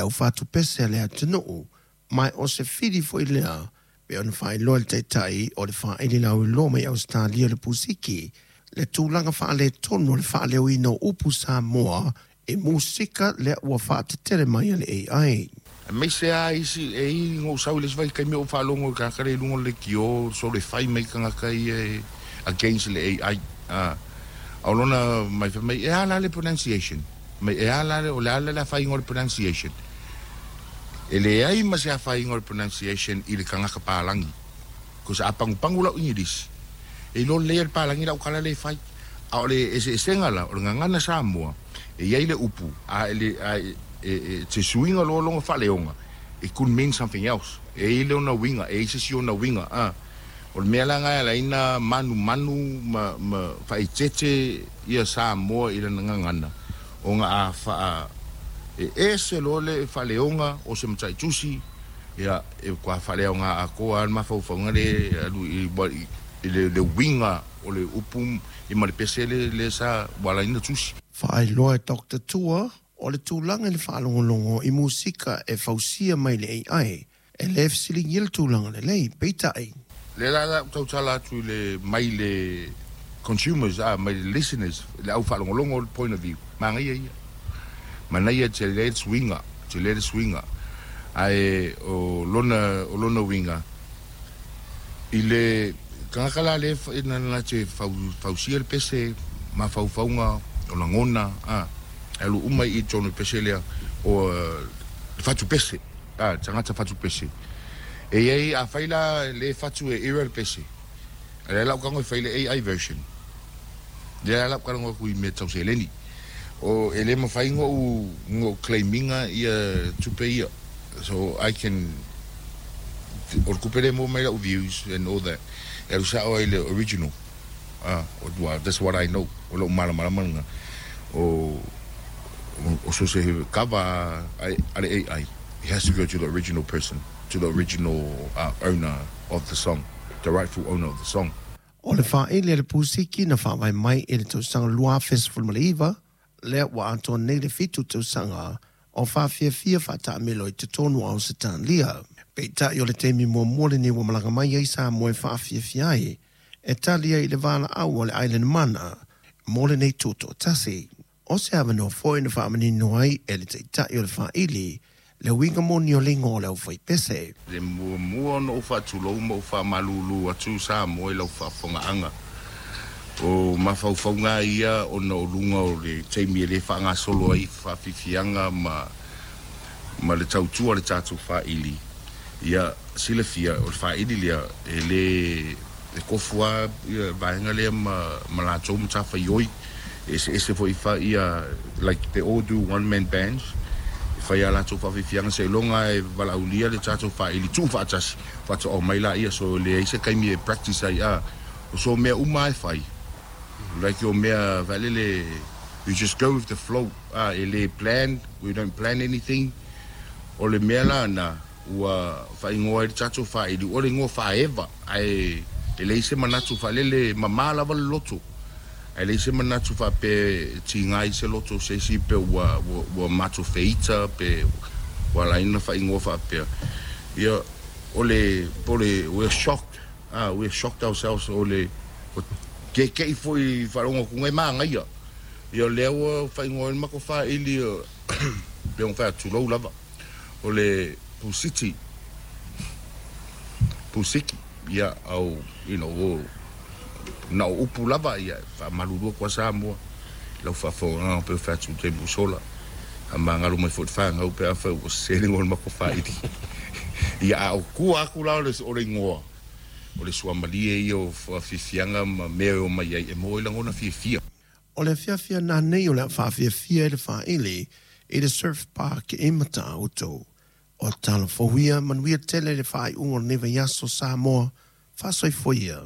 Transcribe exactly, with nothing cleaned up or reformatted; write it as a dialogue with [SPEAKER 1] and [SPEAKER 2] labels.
[SPEAKER 1] Au fatupese a le atunuu, ma o se fili foi lea pe ona faailoa le taitai o le faaili lauiloa mai Ausetalia le Pusiki le tulaga faaletonu o le faaleoina o upu Samoa e musika lea ua faatetele mai a le A I.
[SPEAKER 2] Aemaise a isi e i go sau le vai kai me o faalogo i tagata le i luga o le lekiō so le fai mai tagata ia e against le A I a o lona mai fai mai e ala le pronunciation mai e ala le o le ala le afaina o le pronunciation e leai ma se afaina o le pronunciation i le tagata palagi ko sa pagupagu lau English e iloa lelei e le palagi lau kala le fai a o le eseesega la o le gagana Samoa e iai le upu a e le a e e te suiga loa loga faaleoga it could mean something else e i le ona uiga e i se si ona uiga a o le mea la e ala ai na manumanu ma ma faaeteete ia Samoa i lana gagana ona a faa e ese loa le faaleoga o se mataitusi ia e kua faaleaoga atoa a le mafaufauga le alu i i le le uiga o le upu i ma le pese le le sa ua ala ai na tusi.
[SPEAKER 1] Faailoa e Doctor Tua o le tulaga i le faalogologo i musika e fausia mai le A I e le fesiligia le tulaga lelei, peitai.
[SPEAKER 2] Le la la tautala atu i le mai le consumers a mai le listeners le au faalogologo point of view manaia ia manaia tele le suiga tele le suiga ae o lona o lona uiga i le tagata la lea na na te fausia le pese mafaufauga o lagona a e alu uma i totonu o le pese lea o le fatupese a tagata fatupese e iai afai la le fatu e error le pese a lea la ou tago e fai le A I version lea la ou tago atu i mea tau seleni o e le mafai ona ou claim ina ia tupe ia so I can o le tupe lea e maua mai lau views and all that e alu sao ai le original ah well, that's what I know o lou malamalama lena o o so se cover a le A I it has to go to the original person, to the original uh, owner of the song, the rightful owner of the song.
[SPEAKER 1] O le faaili a le Pusiki na faavae mai i le tausaga lua afe sefuluiva lea ua atoa nei le fitu tausaga o faafiafia faataamilo i totonu o Ausetalia. Peitai o le taimi muamua lenei ua malaga mai ai Samoa e faafiafia ai e tali ai i le valaau o le Island Mana mo lenei tutoatasi. O se avanoa foi na faamanino ai e le taitai o le faaili le uiga moni o le igoa o le aufaipese.
[SPEAKER 2] Le muamua ona ou faatulou ma ou faamalulu atu Samoa i lau faafofogaaga o mafaufauga ia ona o luga o le taimi e lē faagasolo ai faafiafiaga ma ma le tautua le tatou faaili ia silafia o le faaili lea e lē e kofu a ia vaega lea ma ma latou matafaioi e eseese foi fa ia like they all do one man bands e fai a latou faafiafiaga seiloga e valaaulia le tatou faaili tuu faatasi faatoa mai laia so leai se taimi e practice ai a o so mea uma e fai like o mea faalele you just go with the flow ah e le plan, we don't plan anything. O le mea lana ua faaigoa ai le tatou faaili o le igoa faaeva ae e leai se manatu faalele mamā lava le loto ae leai se manatu faapea tiga i se loto se isi pe ua ua, ua matou feita pe ua ala ai ona faaigoa faapea ia o le o le we are shocked ah we are shocked ourselves o le keke'i foi faalogo atu e magaia ia lea ua faaigoa ai le matou faaili pe ona fai atu tulou lava o le Pusiti Pusiki ia au you know o na o upu lava ia faamalulu atu a Samoa lau faafofogaaga pe fai atu taimi sola a magalo mai foi le fagau pe afai ua sese le igoa o le matou faaili ia a o tua atu la o le o le igoa o le suamalie ia o faafiafiaga ma mea e o mai ai e maua ai lagona fiafia.
[SPEAKER 1] O le afiafi ananei o le a faafiafia i le faaili i le Surf Park i Matautu. O tala fou ia manuia tele le faaiuga o lenei vaiaso Samoa faasoifua ia.